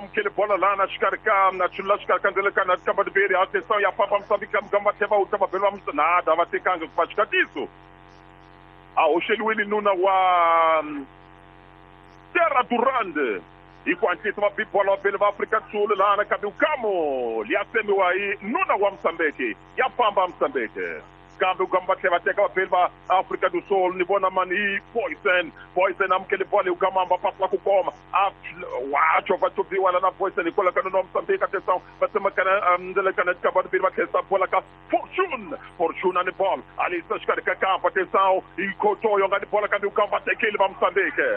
amukele bola lana xikarhi ka na chulula xikarhi ka ndzele ka kamba atenção ya famba Moçambique kamba tlhela va wuta vabeli va nada va tekanga ku va xikatiso a hoxeliwile nuna wa Terra Durande hi ku hatlisa va bi bola vabeli va Afrika Sul lana kambe ukamo liya tsemiwa hi nuna wa Mozambique ya famba Mozambique kambe ukamo va tlhela va teka vabeli va Afrika do Sul ni vona mani hi Poison amukele bola hi ukamo va pasi la ku koma a wa chovha choviwa lana Poison hikwalaho ka nuna wa Mozambique atenção va tsemakana ndzele ka vabeli va tlherisa bola ka Fortune ani bola alisa xikarhi ka kampa atenção hi Kotoyo nga ni bola kambe ukamo va tekile va Mozambique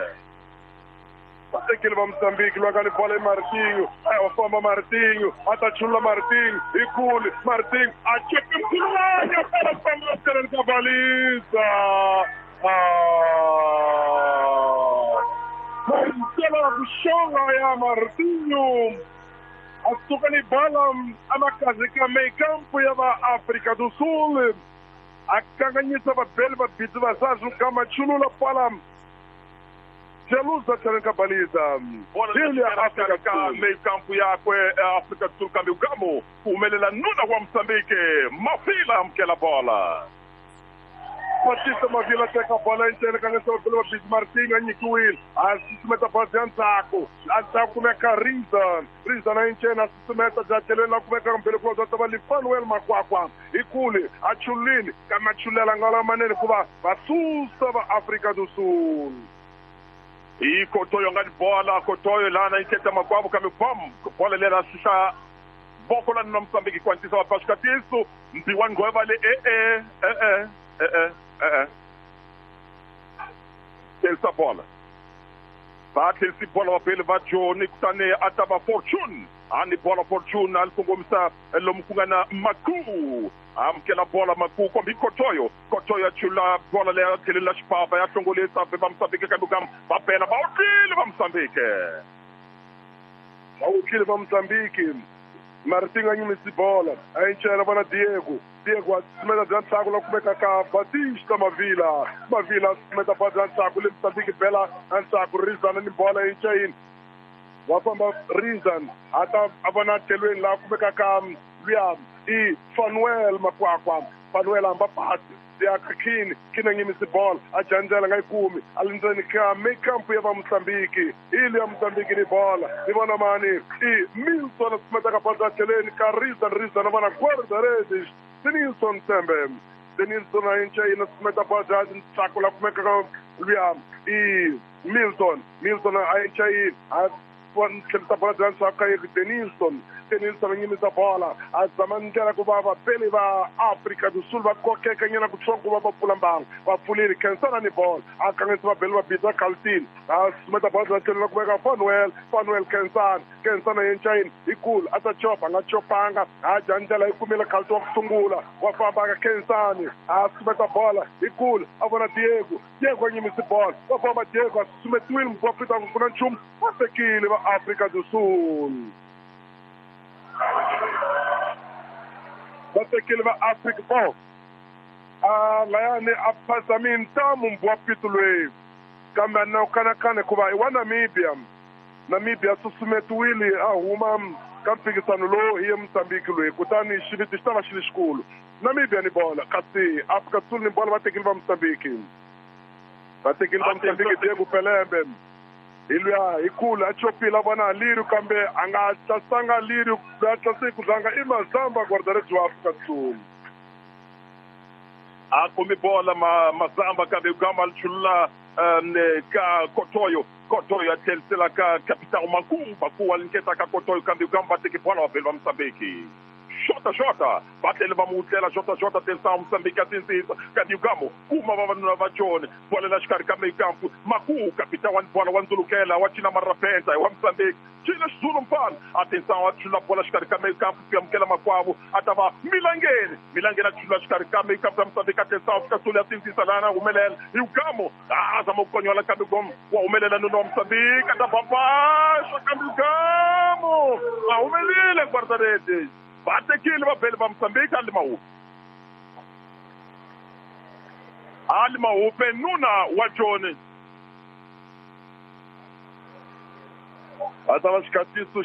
vatekile va Mozambique lwa nga ni bola i Martinho a famba Martinho a ta chulula Martinho hi kule Martinho a chepe mkhulwanya fela famba tlheleni ka balisa mahisela ku xonga ya Martinho a suka ni bola amakazi ka meio-campo ya va África do Sul a kanganyisa vabeli va bidzi va zazu kama chulula pala Jelusa tlheleni ka baliza bola ya Afrika ka meio-campo yakwe Afrika do Sul kambe ukamo ku humelela nuna wa Mozambique Mavila amukela bola Batista Mavila teka bola endzeni ka ngesela va bidzi Martinho a nyikiwile a susumeta bola bya ndzhaku a ndzhaku kumeka Rizan a enceni a susumeta bya tlhelweni la kumeka mbele ku va ta va Fanuel Makwakwa hi kule a chululile kambe a chululela nga lamanene hikuva va susa va Afrika do Sul hi Kotoyo nga ni bola Kotoyo lana yi keta makwavo kambe bam bola lera xihla voko la nuna Mozambique ku hatlisa va ba xikatiso mbiwa ngweva le tlherisa bola va tlherisi bola vabeli va Joni kutani a ta va Fortune a ni bola Fortune a li kongomisa lomu ku nga na Maku amukela bola Maku kombi Kotoyo Kotoyo a chula bola leya tlhelela xipapa ya hlongolisa va Mozambique kambe kam va bela va wutlile va Mozambique va wutlile va Mozambique Martinho a nyimisi bola a encela vona Diego a susumeta bya ntlhaku la kumeka ka Batista Mavila a susumeta bola bya ntlhaku le Mozambique bela a ntlhaku Rizan ni bola enceyini wa famba Rizan a ta a vona tlhelweni laha kumeka ka luya i Fanuel Makwakwa Fanuel hamba pasi ya ka Kini a nyimisi bola a jandzela nga yi kumi a le ndzeni ka meio-campo ya va Mozambique ili ya Mozambique ni bola ni vona mani i Milton a susumeta ka bola bya tlhelweni ka Rizan a vona guarda-redes Denilson Tembe Denilson a enceyini a susumeta bola bya ntlhaku la kumeka ka luya i Milton a enceyini a tlherisa bola bya ndzhaku ka Denilson a nyimisa bola a zama ndlela ku va vabeli va Afrika do Sul va kokeka nyana kutsongo ku va va pfula mbangu va pfulile Khensana ni bola a kanganyisa vabeli va bidza Carlton a susumeta bola bya tlhelo la kumeka Fanuel Khensana yencayini hi kulu a ta chopa a nga chopanga a dya ndlela yi kumile Carlton wa ku sungula wa famba ka Khensani a susumeta bola hi kulu a vona Diego a nyimisi bola wa famba Diego a susumetiwile mupfapfita ku na nchumu va tekile va Afrika do Sul va tekile va Afrika bo a layani a phasa mintamu mbwapito loyi kambe a na kanakana hikuva i wa Namibia susumetiwile a huma ka mphikisano lowu hi ye Mozambique loyi kutani xiviti xi ta va xi lexikulu Namibia ni bola kasi Afrika Sul ni bola va tekile va Mozambique Diego Pelembe hi luya hi kulu a chopile a vona Liru kambe a nga tlasanga Liru a tlase ku tlanga i Mazamba guarda-redes wa Afrika Sul a khomi bola Mazamba kambe gama li chulula ka Kotoyo a tlherisela ka Capitão Maku a linketa ka Kotoyo kambe gama va teki bola vabeli va Mozambique Xota va tlhele va mu wutlela Xota atenção Mozambique a tindzisa kambe Ugamo kuma vavanuna va Joni bola la xikarhi ka meio-campo Maku capitão wa bola wa ndzulukela wa cina marapenta wa Mozambique cina xizulu mfana atenção a chula bola xikarhi ka meio-campo ku amukela makwavo a ta va Milangeni a chula xikarhi ka meio-campo ya Mozambique atenção fika Sul ya tindzisa lana humelela hi Ugamo a zama ku konyola kambe Ugamo wa humelela nuna wa Mozambique a ta babaxa kambe Ugamo a humelile guarda-redes va tekile vabeli va Mozambique Ali Mahupe nuna wa Joni a ta va xikatiso